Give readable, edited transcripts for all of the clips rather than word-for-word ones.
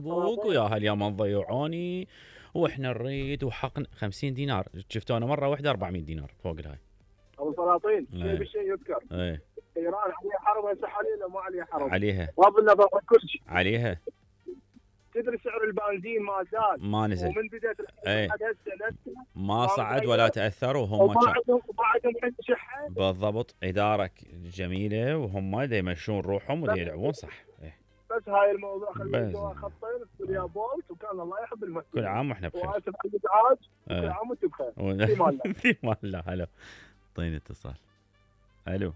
فيسبوك ويا هاليوم ضيعوني واحنا نريد وحقنا 50 دينار شفتونا مره واحده 400 دينار فوق الهاي. ابو سلاطين شيء بالشيء يذكر. ايران عليها حرب هسه حاليا ما عليها حرب؟ عليها. بغض النظر عن كل شيء. عليها. تدري سعر البنزين ما زاد. ما نزل. ومن بدايه الحرب هسه ما صعد ولا تاثروا وهم وبعدهم شحه. بالضبط اداره جميله وهم دا يمشون روحهم ودا يلعبون صح. بس هاي الموضوع خلينا خطين السوريا بولت وكان الله يحب المسلمين. كل عام واحنا بخير. واسف على الازعاج. كل عام وانتم بخير. في مال الله. في مال الله. هلا اعطيني اتصال. الو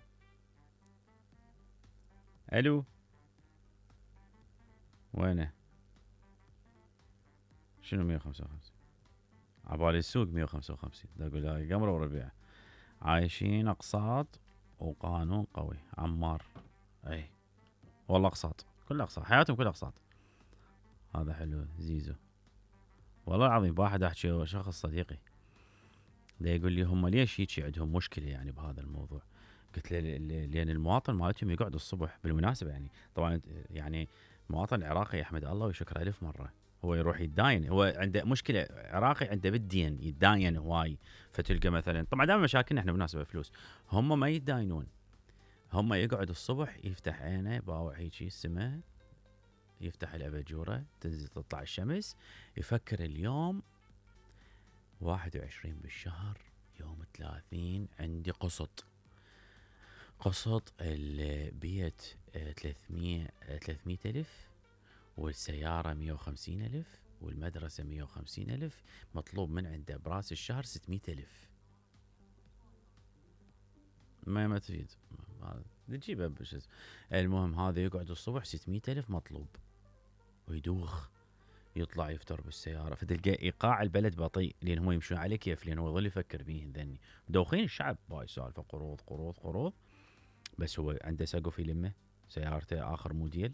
الو وينه؟ شنو 155 عبالي السوق 155 دا اقول هاي قمره وربيع عايشين اقساط وقانون قوي. عمار اي والله اقساط كل اقساط حياتهم كل اقساط. هذا حلو زيزو والله العظيم. واحد احكي شخص صديقي دا يقول لي هم ليش هيك عندهم مشكله يعني بهذا الموضوع. قلت له لان المواطن مالتهم يقعد الصبح بالمناسبه يعني طبعا يعني المواطن العراقي يحمد الله ويشكر ألف مره هو يروح يتداين. هو عنده مشكله عراقي عنده بالدين يتداين هواي. فتلقى مثلا طبعا دائما مشاكلنا احنا بالمناسبه فلوس. هم ما يتداينون. هم يقعد الصبح يفتح عينه باوع هيجي السماء يفتح الاباجوره تنزل تطلع الشمس يفكر اليوم 21 بالشهر يوم 30 عندي قسط البيت 300 ألف والسيارة 150 ألف والمدرسة 150 ألف مطلوب من عنده براس الشهر 600 ألف. ما تفيد تجيبه بشز. المهم هذا يقعد الصبح 600 ألف مطلوب ويدوخ يطلع يفتر بالسيارة. فتلقى إيقاع البلد بطيء لأن هم يمشون عليه كيف لأن هو يظل يفكر بيهن ذني دوخين الشعب باي سالفة قروض قروض قروض. بس هو عنده سقف يلمه سيارته آخر موديل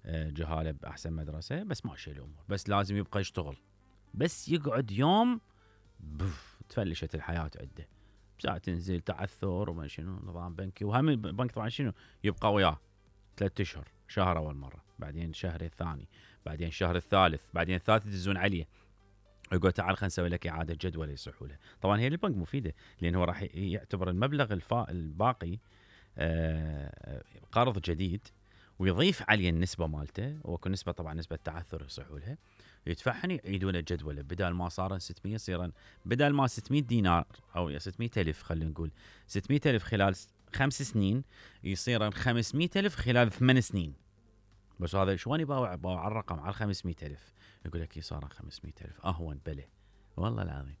جهاله بأحسن مدرسة بس ماشي الأمور. بس لازم يبقى يشتغل بس يقعد يوم تفلشت الحياة عنده. ساعة تنزل تعثر وما شنو نظام بنكي وهم البنك طبعا شنو يبقى وياه 3 أشهر. شهر أول مرة بعدين شهر الثاني بعدين شهر الثالث بعدين الثالث يدزون عليه يقول تعال خلينا نسوي لك إعادة جدول يصحوا له. طبعا هي للبنك مفيدة لأن هو راح يعتبر المبلغ الباقي قرض جديد ويضيف عليه النسبة مالته وكل نسبة طبعا نسبة تعثر يصحوا لها يدفعهن يعيدون الجدول بدل ما صار 600 صيرا بدل ما 600 دينار أو 600 ألف خلينا نقول 600 ألف خلال 5 سنين يصير 500 ألف خلال 8 سنين. بس هذا شلون يباوع على الرقم على 500 ألف يقول لك صار 500 ألف أهون بله والله العظيم.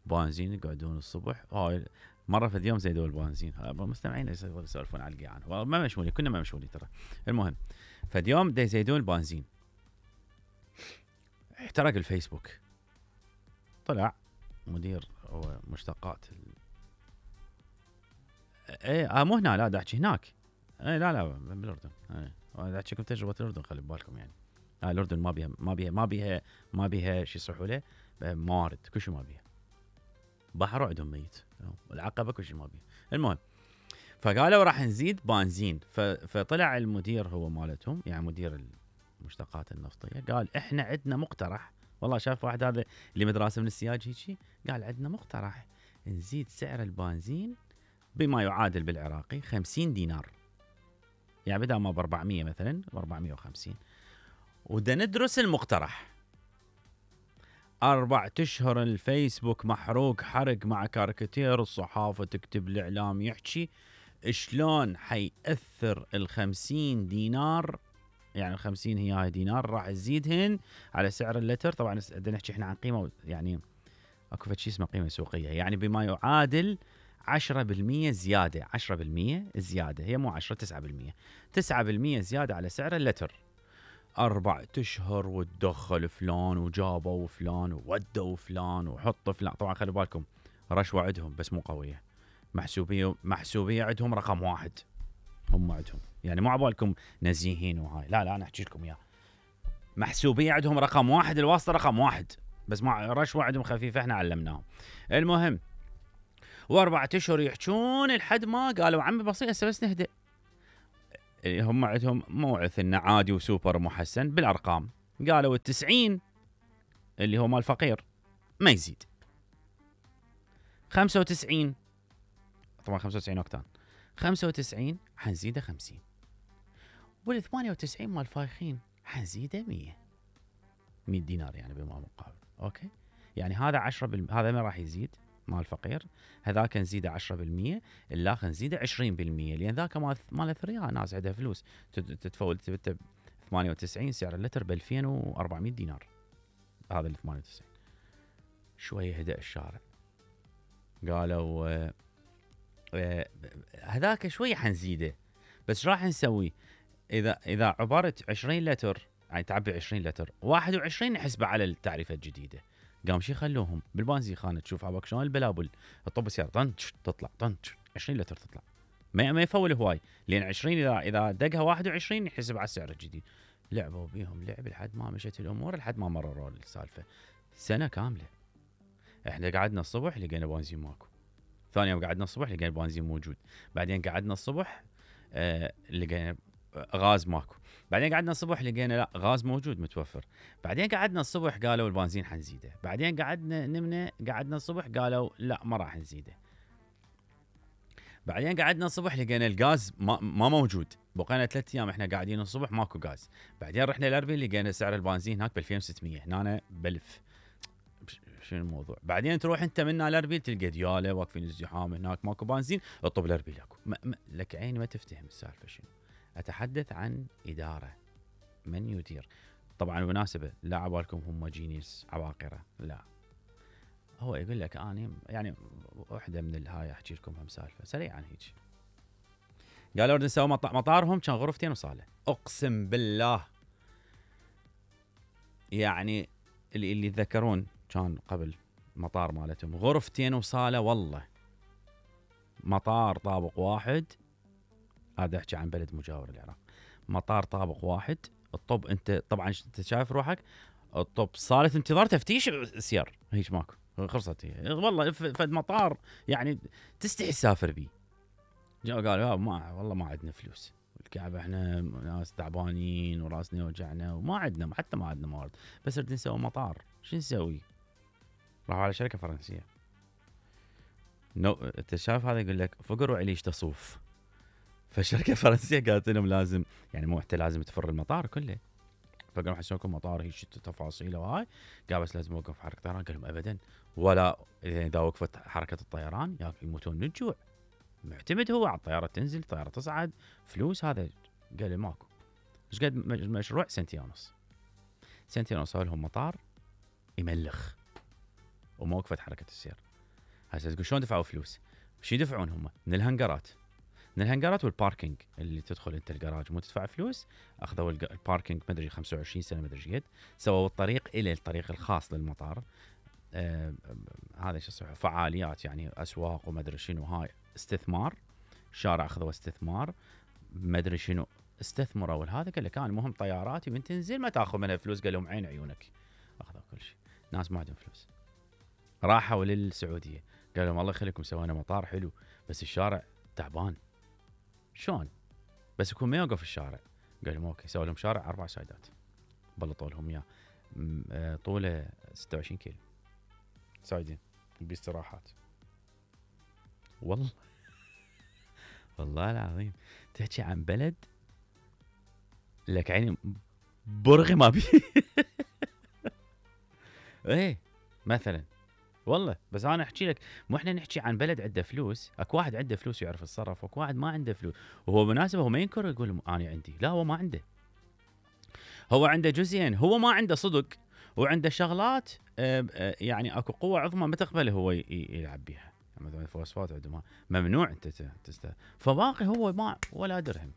بنزين يقعدون الصبح مرة في اليوم زيدوا البنزين. مستمعين يسولفون على القيعان ما مشمولي كنا ما مشمولي ترى. المهم فاليوم دا يزيدون البنزين احترق الفيسبوك. طلع مدير هو مشتقات مو هنا لا دا احكي هناك لا بالاردن دا احكيكم تجربة الاردن خلي بالكم يعني الاردن ما بيها شو يصيحوا له موارد كل شيء ما بيها. بحر عندهم ميت العقبة كل شيء ما بيه. المهم فقالوا راح نزيد بنزين. فطلع المدير هو مالتهم يعني مدير المشتقات النفطية قال احنا عندنا مقترح. والله شاف واحد هذا اللي مدرسة من السياج هيجي قال عندنا مقترح نزيد سعر البنزين بما يعادل بالعراقي 50 دينار يعني بدل ما ب 400 مثلا ب 450 ودا ندرس المقترح. 4 أشهر الفيسبوك محروق حرق مع كاريكاتير الصحافة تكتب الإعلام يحكي شلون حيأثر 50 دينار يعني 50 هي دينار راح تزيدهن على سعر اللتر. طبعا بدنا نحكي احنا عن قيمة يعني اكو شيء اسمه قيمة سوقية يعني بما يعادل 10% زيادة 10% زيادة هي مو 10 9% زيادة على سعر اللتر. 4 أشهر وتدخل فلان وجابوا فلان وودوا فلان وحطوا فلان. طبعا خلي بالكم رشوة عندهم بس مو قوية. محسوبية عندهم رقم 1 هم عندهم يعني مو عبالكم نزيهين وهاي لا انا احكي لكم اياه. محسوبية عندهم رقم 1 الواسطة رقم 1 بس مع رشوة عندهم خفيفة احنا علمناهم. المهم و4 أشهر يحجون لحد ما قالوا عمي بسيط بس نهدئ. هم عندهم موعث انه عادي وسوبر محسن بالارقام قالوا ال90 اللي هو مال فقير ما يزيد. 95 طبعا 95 اوكتان 95 حنزيده 50. وال98 مال فايخين حنزيده 100 دينار يعني بما مقابل. اوكي يعني هذا 10 هذا ما راح يزيد مال فقير، هذاك نزيده 10%، الاخر نزيده 20%، لان ذاك مال اثرياء ناس عندها فلوس تتفول 98 سعر اللتر ب 2400 دينار. هذا ال 98 شويه هدأ الشارع، قالوا هذاك شويه حنزيده، بس راح نسوي اذا عبرت 20 لتر يعني تعبي 20 لتر 21 نحسبه على التعريفه الجديده. قام شي خلوهم بالبنزين خانه تشوف عباك شلون البلابل الطب السياره طنش تطلع طنش 20 لتر تطلع ما يفول هواي، لان 20 اذا دقها 21 يحسب على السعر الجديد. لعبوا بيهم لعب لحد ما مشت الامور، لحد ما مرروا السالفه سنه كامله. احنا قعدنا الصبح لقينا بنزين ماكو، ثاني يوم قعدنا الصبح لقينا بنزين موجود، بعدين قعدنا الصبح لقينا غاز ماكو، بعدين قعدنا الصبح لقينا لا غاز موجود متوفر، بعدين قعدنا الصبح قالوا البنزين حنزيده، بعدين قعدنا الصبح قالوا لا ما راح نزيده، بعدين قعدنا الصبح لقينا الغاز ما موجود، بقينا 3 ايام احنا قاعدين الصبح ماكو غاز، بعدين رحنا الاربيل لقينا سعر البنزين هناك ب 2600 هنا ب1000. شنو الموضوع؟ بعدين تروح انت من الاربيل تلقى دياله واقفين الزحام هناك ماكو بنزين، اطب الاربيل اكو لك عيني ما تفتهم السالفه شنو. اتحدث عن اداره، من يدير. طبعا بالمناسبه لا عبالكم هم جينيس عباقره، لا هو يقول لك اني يعني وحده من الهاي احكي لكم هم سالفه سريعا هيك. قالوا بدنا نسوي مطارهم كان غرفتين وصاله، اقسم بالله يعني اللي يتذكرون كان قبل مطار مالتهم غرفتين وصاله، والله مطار طابق واحد، هذا احكي عن بلد مجاور العراق، مطار طابق واحد الطب انت طبعا انت شايف روحك الطب صاله انتظار تفتيش سير هيك ماكو خلصت هي والله فد مطار يعني تستحي تسافر بيه. جاء قالوا والله ما عندنا فلوس الكعبه احنا ناس تعبانين وراسنا يوجعنا وما عندنا حتى ما عندنا موارد، بس نريد نسوي مطار شو نسوي؟ راحوا على شركه فرنسيه. انت شايف هذا يقول لك فقر وعليش تصوف، فالشركه الفرنسيه قالت لهم لازم يعني مو حتى لازم تفر المطار كله، فقالوا حسوا لكم مطار هيك تفاصيله وهاي، قال بس لازم اوقف حركه طيران، قال لهم ابدا ولا اذا وقفت حركه الطيران يموتون من الجوع، معتمد هو على الطياره تنزل الطياره تصعد فلوس هذا. قال لي ماكو. ايش قد مشروع؟ 2.5 سنة سووا لهم مطار يملخ وما وقفت حركه السير. هسه تقول شلون دفعوا فلوس؟ شو يدفعون هم؟ من الهنجرات والباركينج اللي تدخل انت الجراج مو تدفع فلوس، اخذوا الباركينج مدري 25 سنه مدري قد، سووا الطريق الى الطريق الخاص للمطار. هذا شو اسمه فعاليات يعني اسواق ومدري شنو، هاي استثمار شارع اخذوا استثمار مدري شنو استثمروا هذا. قال لك انا مهم طياراتي من تنزل ما تاخذ منها فلوس، قال لهم عين عيونك اخذوا كل شيء. ناس ما عندهم فلوس راحوا للسعوديه قال لهم الله يخليكم سوينا مطار حلو بس الشارع تعبان. شلون؟ بس يكون ما يوقف الشارع. قال لهم اوكي، سووا لهم شارع 4 سايدات بلطوا لهم اياه طوله 26 كيلو سايدين باستراحات. والله العظيم تحكي عن بلد لك عيني برغي ما بي ايه مثلا والله. بس انا احكي لك مو احنا نحكي عن بلد عنده فلوس، اكو واحد عنده فلوس ويعرف يتصرف، واكو واحد ما عنده فلوس. وهو بالمناسبه هو ما ينكر يقول انا عندي، لا هو ما عنده، هو عنده جزئين، هو ما عنده صدق وعنده شغلات يعني اكو قوه عظمى ما تقبله هو يلعب بيها، مثلا الفوسفات عندما ممنوع انت فباقي هو ما ولا درهم.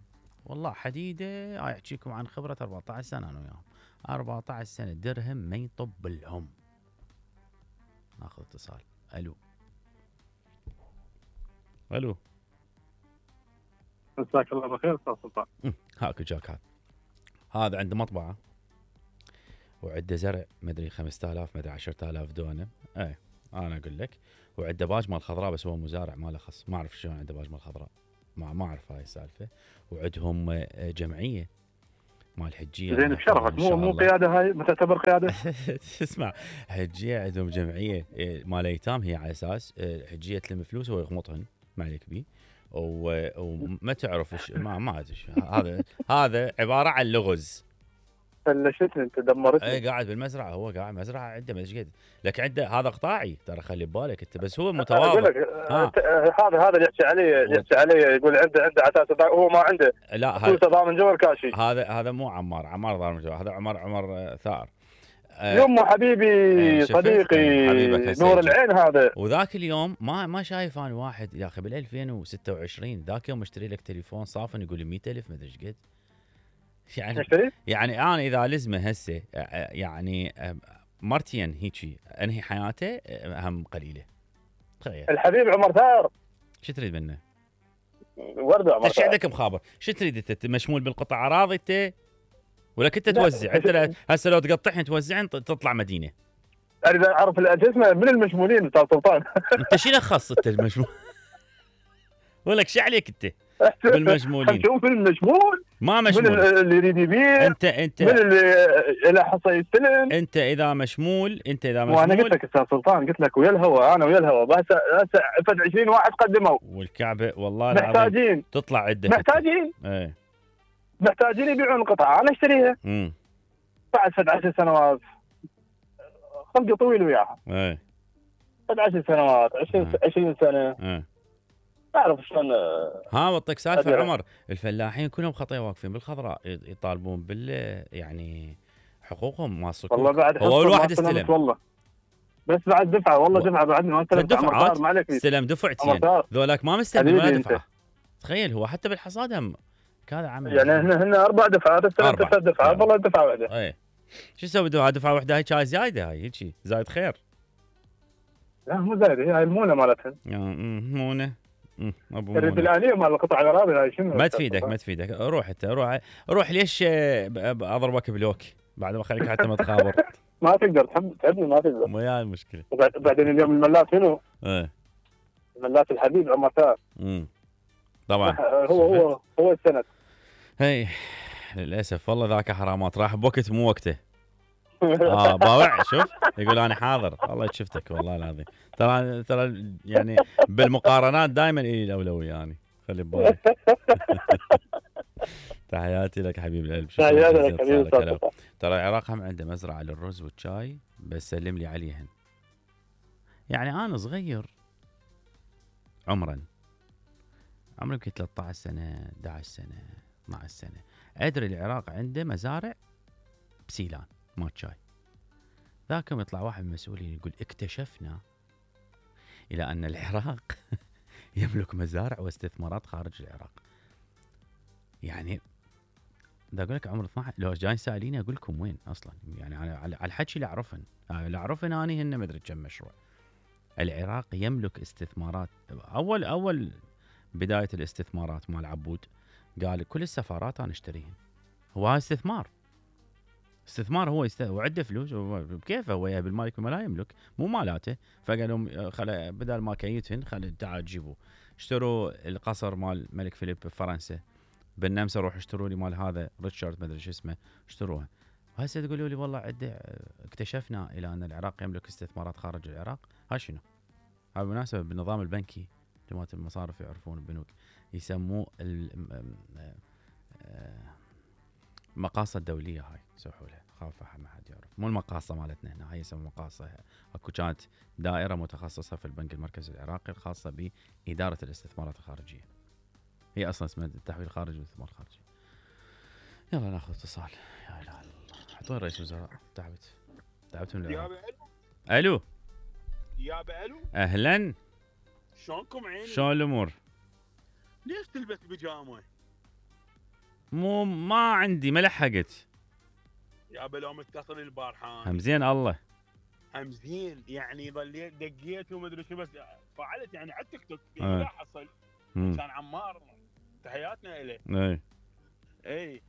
والله حديده احكيكم عن خبره 14 سنه انا وياهم، 14 سنه درهم ما يطب لهم. ناخذ اتصال. الو مساك الله بالخير استاذ سلطان. هاك جاك هذا عنده مطبعه وعنده زرع مدري 5000 مدري 10000 دونم. انا اقول لك، وعنده باج مال خضراء بس هو مزارع ما له خص، ما اعرف شلون عنده باج مال خضراء، ما اعرف هاي السالفه. وعندهم جمعيه مال حجيه. زين بشرفك، مو قياده هاي، ما تعتبر قياده؟ اسمع، حجيه عندهم جمعيه مال ايتام، هي على اساس حجيه تلم فلوس ويغمطهن، ما عليك بيه، وما تعرف ما ادري هذا عباره عن لغز. فلشتني انت، دمرتني. اي قاعد بالمزرعه، هو قاعد مزرعه عنده ما قد، لكن عنده هذا قطاعي ترى، خلي ببالك انت، بس هو متواضع. اقول لك هذا اللي يحكي عليه يقول عنده عتاسه، هو ما عنده. لا هذا ضامن جوهر كاشي. هذا مو عمار ضامن جوهر، هذا عمر ثار. يمه حبيبي صديقي نور العين هذا. وذاك اليوم ما شايف انا واحد يا اخي بال 2026 ذاك يوم اشتري لك تليفون صافن يقول لي 100,000 ما ادري ايش قد. يعني انا اذا لزمه هسه يعني مرتين هيجي انهي حياته هم قليله. تخيل الحبيب عمر ثار، شو تريد منه؟ ورده عمر ايش عندك مخابر؟ شو تريد انت؟ مشمول بالقطع اراضي انت ولا كنت توزع؟ انت هسه لو تقطعهن توزعهن تطلع مدينه. اريد اعرف اسمه من المشمولين بتاع سلطان. انت شو لخص انت المشمول؟ ولك شو عليك انت بالمشمولين؟ شوف من المشمول، ما مشمول من اللي يريد يبيع، انت من اللي حصل يستلم. انت اذا مشمول وانا قلت لك استاذ سلطان، قلت لك ويا الهوى، انا ويا الهوى، بس هسه فد 20 واحد قدموا والكعبه والله محتاجين، تطلع عده محتاجين ايه محتاجين يبيعون القطعه، انا اشتريها بعد فد 10 سنوات، خلقي طويل وياها. ايه فد 10 سنوات 20 سنه تعرف شلون. بعطيك سالفه عمر، الفلاحين كلهم خطيه واقفين بالخضراء يطالبون يعني حقوقهم ما صكوك. والله بعد هو الواحد استلم والله، بس بعد دفعه والله دفعه بعدني ما استلمت. دفعات ما عليك، استلم دفعتين ذولاك ما مستلم ولا دفعه. تخيل هو حتى بالحصاد هم كذا عمل، يعني هن 4 دفعات، استلمت 3 دفعات والله دفعه واحده. اي شو اسوي دفعه واحده؟ هاي كاي زايده، هاي هيك زايد خير. لا مو زايده، هي المونه مالتها. مونه ابو الآلية مال القطع الاراضي هاي شنو؟ ما تفيدك روح انت روح ليش اضربك بلوك بعد ما خليك حتى ما تخابر. ما تقدر تحبني، ما تقدر، مو هاي المشكله. بعدين اليوم الملاك شنو؟ ايه الملاك الحبيب عمر ثار. طبعا هو السند. هي للاسف والله ذاك حرامات، راح بوقت مو وقته. باوع شوف يقول انا حاضر، والله شفتك والله العظيم. ترى يعني بالمقارنات دائما الي الاولويه يعني، خلي ببالك. تحياتي لك حبيب القلب. تحياتي لك حبيبي. ترى العراق هم عنده مزرعه للرز والشاي، بس سلم لي عليهن. يعني انا صغير عمري يمكن 13 سنه 11 سنه 12 سنه، ادري العراق عنده مزارع بسيلان مال شاي. ذاك يوم يطلع واحد من المسؤولين يقول اكتشفنا الى ان العراق يملك مزارع واستثمارات خارج العراق. يعني دا اقول لك عمر 12 لو جاي ساليني اقول لكم وين اصلا، يعني على الحكي اللي اعرفن اني هن ما ادري كم مشروع. العراق يملك استثمارات. اول بدايه الاستثمارات مال عبود قال كل السفارات انا اشتريهن. هو هذا استثمار هو وعنده فلوس بكيفه، هو بالمالك وما لا يملك، مو مالاته. فقال لهم بدل ما كيتهن تعال جيبوا. اشتروا القصر مال الملك فيليب بفرنسا، بالنمسا روح اشتروا لي مال هذا ريتشارد ما ادري شو اسمه، اشتروها. وهسه تقولوا لي والله اكتشفنا الى ان العراق يملك استثمارات خارج العراق. ها شنو؟ هاي بالمناسبه بالنظام البنكي جماعه المصارف يعرفون البنوك يسموه المقاصة الدولية. هاي يسوحوا لها، خاف ما حد يعرف. مو المقاصة مالتنا هنا، هاي يسموها مقاصة. اكو كانت دائرة متخصصة في البنك المركزي العراقي الخاصة بإدارة الاستثمارات الخارجية. هي اصلا اسمها التحويل الخارجي والاستثمار الخارجي. يلا ناخذ اتصال. يا اله الا الله، حطوا رئيس وزراء. تعبت من العراق. الو يا الو اهلا، شلونكم عيني؟ شلون الامور؟ ليش تلبس بيجامه؟ ما عندي، ما لحقت. يا لو متصل البارحان هم زين الله هم زين، يعني ظليت دقيت وما ادري شو، بس فعلت يعني على التيك توك يعني لا حصل. كان عمار تحياتنا له. اي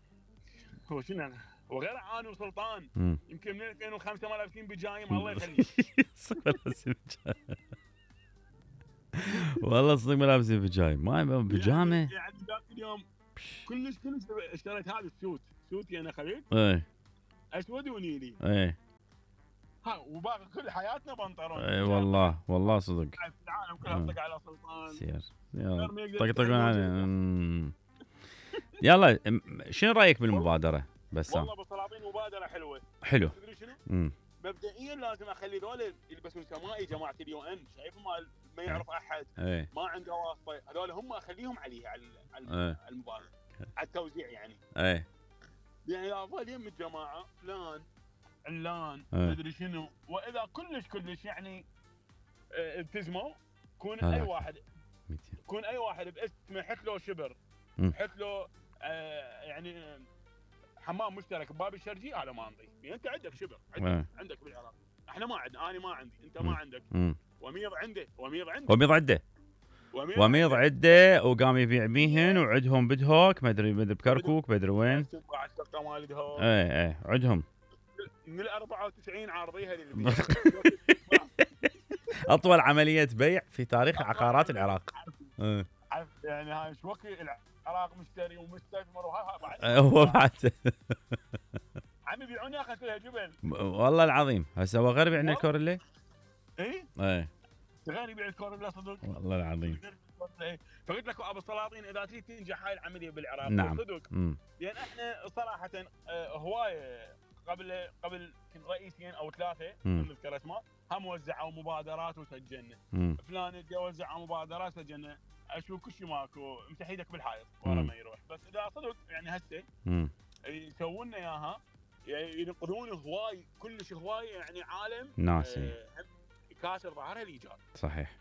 هو شنو وغير عاني وسلطان يمكن من 2005 ما لابسين بيجايم الله يخليك. والله صدق ما لابسين بيجايم، ما بيجامه يعني ذاك اليوم كلش اشتريت هذا السوت سوتي انا خليل اي اسود ونيلي اي ها، وباقي كل حياتنا بنطلون. اي والله صدق. العالم كلها طق على سلطان سير يلا غير ما يقدر طقطقون يتحمل عليه. يلا شنو رايك بالمبادره بسام؟ والله بالسلاطين مبادره حلوه. حلو. تدري شنو؟ مبدئيا لازم اخلي ذول يلبسون سمائي جماعه اليو ان، شايف ما يعرف احد، ما عنده واسطه، هذول هم اخليهم عليها على المبادره، على التوزيع يعني. يعني افضل يم الجماعه فلان علان مدري شنو، واذا كلش يعني التزموا، يكون اي واحد باسمه حط له شبر، حط له يعني حمام مشترك بباب الشرجي، هذا ما نضيف. يعني انت عندك شبر، عندك بالعراق، احنا ما عندنا، انا ما عندي، انت ما عندك. وميض عنده وقام يبيع بيهن، وعندهم بدهوك ما ادري بكركوك ما ادري وين. ايه عندهم من ال 94 عارضيها للبيع. اطول عمليه بيع في تاريخ عقارات العراق. يعني هاي ايش وقت العراق مشتري ومستثمر وها بعد. هو بعد عم يبيعون يا اخي فيها جبل. والله العظيم هسه هو غير يبيعنا الكورلي. اي غير يبيع الكورلي صدق. والله العظيم. فقلت لك ابو السلاطين اذا تريد تنجح هاي العمليه بالعراق نعم. صدق. لان احنا صراحه هوايه قبل كنت رئيسين او 3 نذكر اسماء، هم وزعوا مبادرات وسجلنا. فلان يجي وزع مبادرات سجلنا، اشوف كل شيء ماكو، امسح ايدك بالحائط ورا ما يروح. بس اذا صدق يعني هسه يسوون لنا اياها، يعني ينقذون هواي كلش هواي، يعني عالم ناسي كاسر ظهرها الايجار. صحيح.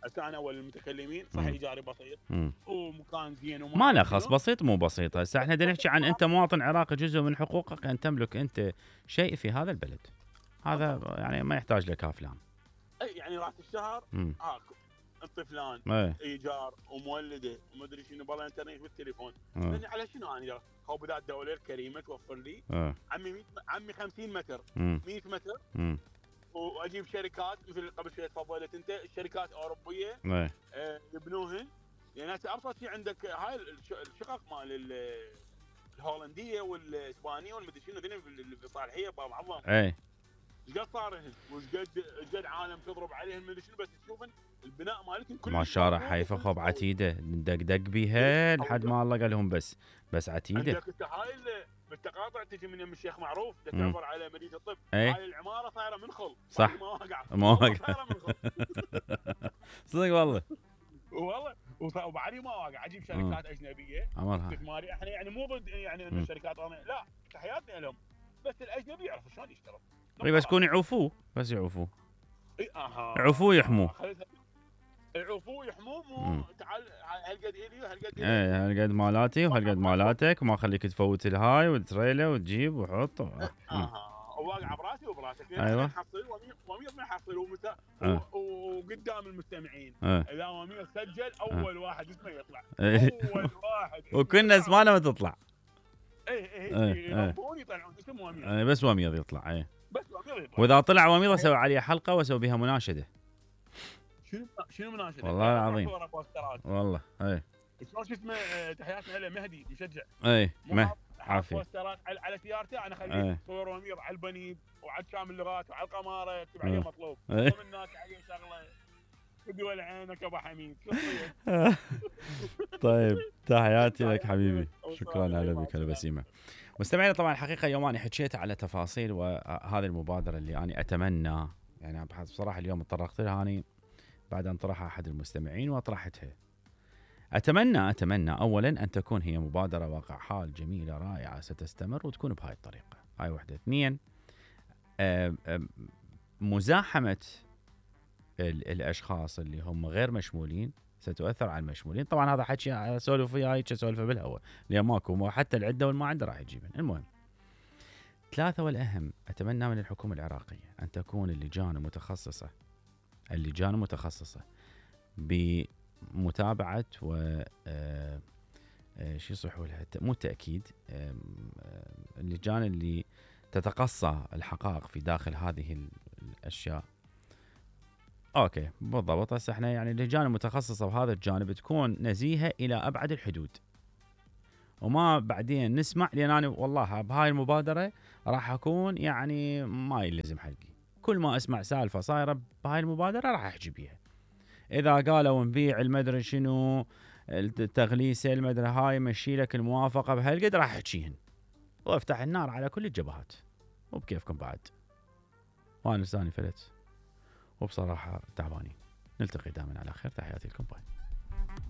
هسه انا اول المتكلمين صح ايجاري بسيط ومكان زين ما له خص بسيط مو بسيط. هسه احنا بدنا نحكي عن انت مواطن عراقي، جزء من حقوقك ان تملك انت شيء في هذا البلد. هذا يعني ما يحتاج لك افلام. اي يعني راس الشهر انت فلان ايجار ومولده ومدري شنو، بالله انترنت بالتليفون. لاني على شنو انا هو بذات الدوله الكريمه توفر لي عمي 50 متر 100 متر واجيب شركات مثل قبل شوي تفضلت انت، الشركات اوروبيه يبنوهن. يعني هسه ابسط شيء عندك هاي الشقق مال الهولنديه والاسبانيه والمدري شنو ذني بالصالحيه باب عظام. ايش قد صارهن وش قد عالم تضرب عليهم مدري شنو، بس تشوفن البناء مالتهم كله ما شارع حيفا خب عتيده دق بيها لحد ما الله قال لهم بس عتيده. عندك هاي بالتقاطع تجي من يم الشيخ معروف تعبر على مدينه الطب. هاي العماره صايره منخل صح، ما واقع صدق والله وبعدي ما واقع. اجيب شركات اجنبيه استثماري، احنا يعني مو ضد يعني انه الشركات لا، تحياتنا لهم، بس الاجنبي يعرف شلون يشتغل. بس يكون يعوفوه يعوفوه يحموه. يعوفوه يحموه، مو تعال هالقد الي وهالقد هالقد مالاتي وهالقد مالاتك، وما خليك تفوت الهاي وتريله وتجيب وحط. وواقع براسي وبراسك. ايوه نحصل وميض ما يحصل وقدام المستمعين. اذا وميض سجل اول واحد اسمه يطلع. اول واحد وكنا اسمعنا ما تطلع. يربون يطلعون اسم وميض. بس وميض يطلع. بس وميض يطلع. واذا طلع وميض اسوي عليه حلقه واسوي بها مناشده. شنو مناشده؟ والله العظيم والله. شلون شو اسمه تحياتنا له مهدي مشجع. عافيه بوسترات على سيارته، انا اخليه صور وميض على البنيب وعلى شامل اللغات وعلى القماره يكتب عليه مطلوب ومن هناك عليه شغله بدول عينك ابو حميد. طيب تحياتي لك حبيبي، شكرا على بك البسيمه. مستمعينا طبعا الحقيقه يوم انا حكيت على تفاصيل وهذه المبادره اللي انا اتمنى، يعني بصراحه اليوم تطرقت لها اني بعد ان طرحها احد المستمعين واطرحتها. اتمنى اولا ان تكون هي مبادره واقع حال جميله رائعه ستستمر وتكون بهاي الطريقه. هاي وحده. 2 مزاحمه الاشخاص اللي هم غير مشمولين ستؤثر على المشمولين. طبعا هذا حكي اسولف وياه هيك اسولفه بالهواء لان ماكو، حتى العده والما عنده راح يجيبن. المهم 3 والاهم، اتمنى من الحكومه العراقيه ان تكون اللجان المتخصصه بمتابعه و شو يصحوا لها، مو تاكيد، اللجان اللي تتقصى الحقائق في داخل هذه الاشياء. اوكي بالضبط. هسه احنا يعني اللجان المتخصصه بهذا الجانب تكون نزيهه الى ابعد الحدود، وما بعدين نسمع، لان انا والله بهاي المبادره راح اكون يعني ما يلزم حقي، كل ما اسمع سالفه صايره بهاي المبادره راح احكي بيها. اذا قالوا نبيع المدري شنو التغليسه المدري هاي مشي لك الموافقه بهالقد راح احكيهن وافتح النار على كل الجبهات. وبكيفكم بعد. وانا لساني فلت وبصراحه تعبانين. نلتقي دائما على خير، تحياتي لكم، باي.